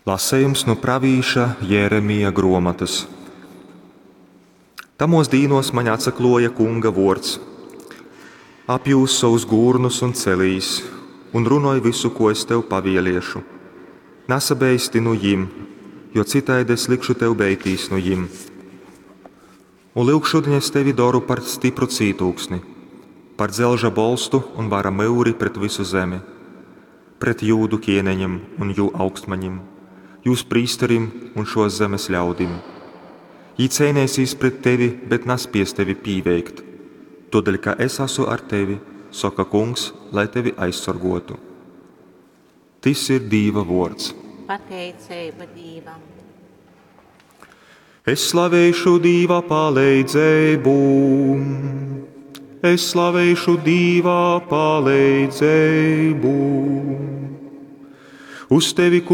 Lasejums nu pravīša Jeremija gruomotys. Tamuos dīnuos maņ atsakluoja Kunga vuords: Apjūz sovus gūrnus un celīs, un runoj vysu, kū es tev pavieliešu. Nasabeisti nu jim, jo cytaidi es likšu tev beitīs nu jim. Un lyuk, šudiņ es tevi doru par stipru cītūksni, par dzelža bolstu un vara myuri pret vysu zemi, pret jūdu kieneņim un jū augstmaņim, jūs prīsterim un šōs zemes ļaudim. Jī ceineisīs pret tevi, bet naspies tevi pīveikt, tōdēļ ka es asu ar tevi, soka Kungs, lai tevi aizsorgōtu. Tys ir Dīva vōrds. Pateiceiba Dīvam. Es slavēšu Dīva paleidzeibu. Es slavēšu Dīva paleidzeibu. Uz tevi, Kungs,